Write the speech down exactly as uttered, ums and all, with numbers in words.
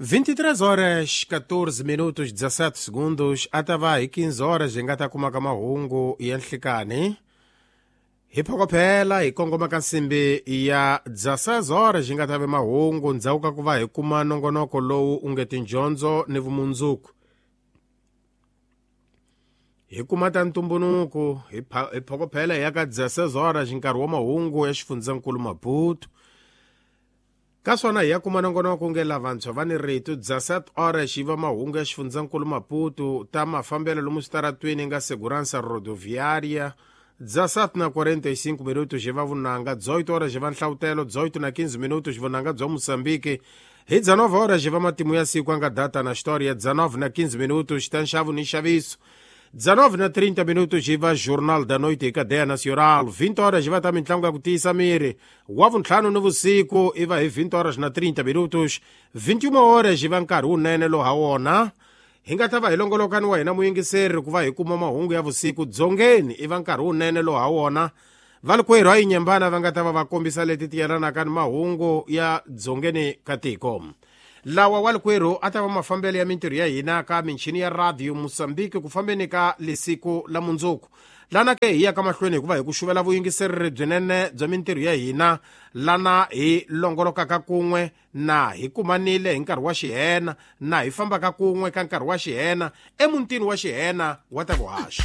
vinte e três horas catorze minutos dezessete segundos, a ta va hi quinze horas hi nga ta kumaka mahungu ya nhlikani. Hi phokophela hi kongoma ka nsimbi ya dezesseis horas hi nga ta ve mahungu, ndzhaku ka ku va hi kuma nongonoko lowu u nge tindyondzo ni vumundzuku. Hi kuma ta ntumbuluko, hi hi phokophela hi ya ka dezesseis horas, nkarhi wa mahungu ya xifundzankulu Maputo. Ka swona hi ya kuma nongonoko nge lavantshwa va ni rito. Dezessete horas yi va mahungu ya xifundzankulu Maputo, ta mafambelo lomu switaratweni nga segurança rodoviária. Dezessete na quarenta e cinco minutos hi va vunanga. Dezoito horas hi va nhlavutelo. Dezoito na quinze minutos vunanga bya Moçambique. Hi dezenove horas hi va matimu ya siku anga data na história. Dezenove na quinze minutos ta nxavo ni nxaviso. Dezenove na trinta minutos hi va Jornal da Noite hi Cadeia Nacional. Vinte horas hi va ta mitlangu ya ku tiyisa miri. Wa vuntlhanu ni vusiku i va hi vinte horas na trinta minutos. Vinte e uma horas hi va nkarhi wunene lowu ha wona hi nga ta va hi longolokani wa hina muyingiseri ku va hi kuma mahungu ya vusiku dzongeni. I va nkarhi wunene lowu ha wona valikwerhu a yinyembana va nga ta va va kombisa leti ti yelanaka ni mahungu ya dzongeni ka tiko. Lawa walikwerhu a ta va mafambelo ya mintirho ya hina ka michini ya Radio Moçambique ku fambeni ka lesiku la mundzuku. Lana ke hi ya ka mahlweni hikuva hi ku xuvela vuyingisereri byinene bya mintirho ya hina, lana hi longolokaka kun'we na hi kumanile hi nkarhi wa xihena, na hi fambaka kun'we ka nkarhi wa xihena emutini wa xihena wa ta vuhaxi.